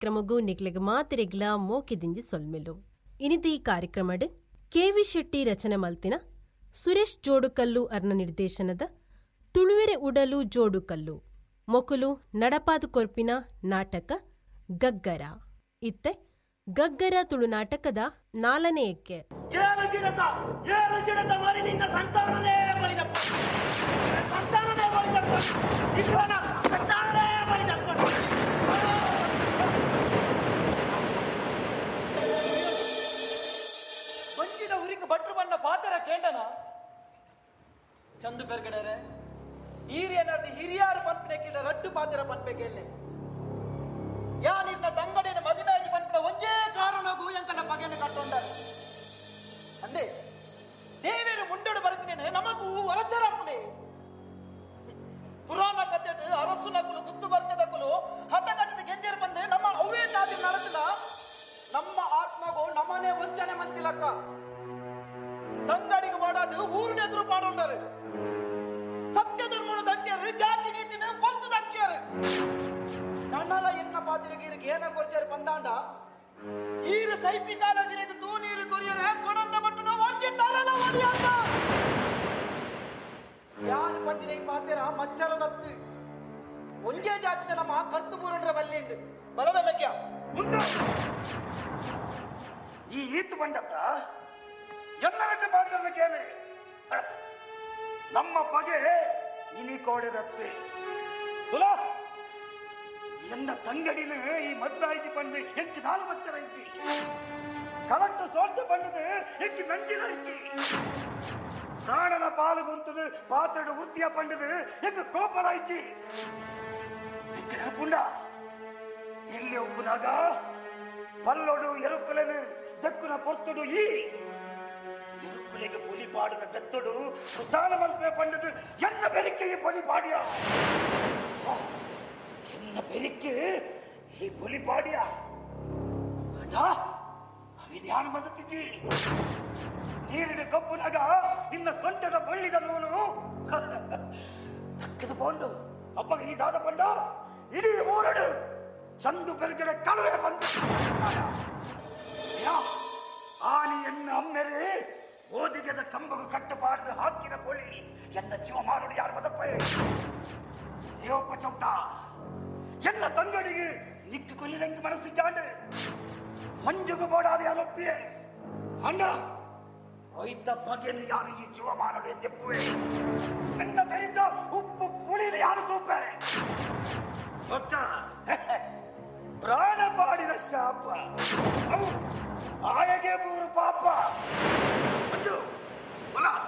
ಕಾರ್ಯಕ್ರಮಗೂ ನಿಕ್ಲೆಗ್ ಮಾತೆರೆಗ್ಲ ಮೋಕೆದಿಂಜಿ ಸೊಲ್ಮೆಲು. ಇನಿತ ಈ ಕಾರ್ಯಕ್ರಮಡ್ ಕೆ.ವಿ. ಶೆಟ್ಟಿ ರಚನೆ ಮಲ್ತಿನ ಸುರೇಶ್ ಜೋಡುಕಲ್ಲು ಅರ್ನ ನಿರ್ದೇಶನದ ತುಳುವೆರೆ ಉಡಲು ಜೋಡುಕಲ್ಲು ಮೊಕುಲು ನಡಪಾದು ಕೊರ್ಪಿನ ನಾಟಕ ಗಗ್ಗರ. ಇತ್ತೆ ಗಗ್ಗರ ತುಳು ನಾಟಕದ ನಾಲ್ಕನೇ ಎಕ್ಕೆ. ಏಳು ಜಿಡತ ಏಳು ಜಿಡತ ಮರಿ ನಿನ್ನ ಸಂತಾನನೇ ಬಳಿದಪ್ಪ, ಸಂತಾನನೇ ಬಳಿದಪ್ಪ, ನಿನ್ನ ಸಂತಾನನೇ ಬಳಿದಪ್ಪ. ಬಂಜಿದ ಉರಿக்கு ಬಟ್ರು ಬಣ್ಣ ಪಾತರ ಕೇಂಡನ ಚಂದು ಪೆರ್ಗಡೆರೆ ಈರಿಯನಾರ್ದು ಹಿರಿಯಾರು ಪನ್ಪನೆ ರಡ್ಡು ಪಾತ್ರ ಪನ್ಪೆ ಕೇಳಿ ಯಾ ನಿನ್ನ ತಂಗಡಿನ ಮದುವೆಯಾಗಿ ಪನ್ಪಿನ ಒಂಜೇ ಕಾರಣಗೂ ಎಂಕನ ಬಗೆಯನ್ನು ಕಟ್ಟೊಂಡಾರ ಅಂದೆ ದೇವೇರು ಮುಂಡೋಡು ಬರುತ್ತಿನೇನೆ ನಮಗೂ ವರಚರಪ್ಪುನೆ. ಪುರಾಣ ಕಥೆಟ್ ಅರಸು ನಕುಲು ಗುತ್ತು ಬರ್ತದಕುಲು ಹಠ ಕಟ್ಟದ ಗೆಂಜರು ಬಂದು ನಮ್ಮ ಅವೇ ತಾದಿ ನಡೆಸಿದ ನಮ್ಮ ಆತ್ಮಗೂ ನಮ್ಮನೆ ವಂಚನೆ ಮಂತಿಲಕ್ಕ ತಂಗಡಿಗೆ ಮಾಡಾದು ಊರಿನ ಎದುರು ಪಾಡೊಂಡರು ಸತ್ಯ ಧರ್ಮನು ದಟ್ಟಿಯರು ಜಾತಿ ನೀತಿನ ಪೊಲ್ತು ದಕ್ಕಿಯರು ನನ್ನಲ ಎನ್ನ ಪಾತಿರಿಗೆ ಏನ ಕೊರ್ಚಾರು ಬಂದಾಂಡ ಈರು ಸೈಪಿ ಕಾಲಗಿರಿದು ತೂ ನೀರು ಕೊರಿಯರೆ ಕೊಡಂತ ಬಟ್ಟನು ಒಂಜಿ ತರಲ ಒಡಿಯಾತ ಯಾನು ಪಂಡಿನ ಈ ಪಾತಿರ ಮಚ್ಚರ ದತ್ತು ಒಂಜೇ ಜಾತಿ ನಮ್ಮ ಕರ್ತು ಬೂರಂಡ್ರ ಬಲ್ಲಿಂದು ಬಲವೇ ಬೆಕ್ಯ ಮುಂದೆ ಈ ಈತು ಬಂಡತ್ತ ಎಲ್ಲರಟ್ಟು ಪಾತ್ರನ ಕೇಳಿ ನಮ್ಮ ಪಗೆ ಇನಿ ಕೋಡೆದತ್ತೆ ತುಲಾ ಎನ್ನ ತಂಗಡಿನ ಈ ಮದ್ದಾಯಿಜಿ ಬಂದು ಎಂಕ್ ದಾಲು ಮಚ್ಚರ ಇಜ್ಜಿ ಕಲಟ್ಟು ಸೋಲ್ತು ಬಂದದು ಎಂಕ್ ನಂಜಿಲ ಇಜ್ಜಿ ಪ್ರಾಣನ ಪಾಲು ಗುಂತದು ಪಾತ್ರಡು ವೃತ್ತಿಯ ಪಂಡದು ಎಂಕ್ ಕೋಪಲ ಇಜ್ಜಿ ಎಂಕ್ ನೆನಪುಂಡ ಎಲ್ಲಿ ಒಪ್ಪುನಾಗ ಪಲ್ಲೊಡು ಎರುಕುಲೆನು ದಕ್ಕುನ ಪೊರ್ತುಡು ಈ ಎರುಕುಲೆಗೆ ಪೊಲಿ ಪಾಡಿನ ಬೆತ್ತೊಡು ಕುಸಾಲ ಮಲ್ಪೆ ಪಂಡದು ಎನ್ನ ಬೆರಿಕೆಗೆ ಪೊಲಿ ಪಾಡಿಯ ಎನ್ನ ಬೆರಿಕೆ ಈ ಪೊಲಿ ಪಾಡಿಯ ಅಣ್ಣ ಅವಿದ್ಯಾನ ಬಂದತ್ತಿಜ್ಜಿ ನೀರಿನ ಕಬ್ಬುನಾಗ ನಿನ್ನ ಸೊಂಟದ ಬಳ್ಳಿದ ನೂಲು ತಕ್ಕದು ಪೋಂಡು ಅಪ್ಪಗೆ ಈ ದಾದ ಪಂಡ ಇಡೀ ಊರಡು ಚಂದು ಬೆರ್ಗಡೆ ಕಲುವೆ ಬಂದು ಆನಿ ಎನ್ನ ಅಮ್ಮೆರೆ ಓದಿಗೆದ ಕಂಬಗು ಕಟ್ಟುಪಾಡ್ದು ಹಾಕಿನ ಪೊಳಿ ಎನ್ನ ಜೀವ ಮಾರುಡಿ ಯಾರು ಬದಪ್ಪ ದೇವಪ್ಪ ಚೌಟ ಎನ್ನ ತಂಗಡಿಗೆ ನಿಕ್ಕು ಕೊಲ್ಲಿರಂಗ್ ಮನಸ್ಸು ಚಾಂಡು ಮಂಜುಗು ಬೋಡಾದ ಯಾರೊಪ್ಪಿಯೇ ಅಣ್ಣ ಒಯ್ತ ಬಗೆನು ಯಾರು ಈ ಜೀವ ಮಾನಡು ಎದ್ದೆಪ್ಪುವೆ ನನ್ನ ಬೆರಿತ ಉಪ್ಪು ಪುಳಿನ ಯಾರು ತೂಪೆ ಗೊತ್ತ ಪ್ರಾಣ ಪಾಡಿನ ಶಾಪ ಆಯಗೆ ಮೂರು ಪಾಪ.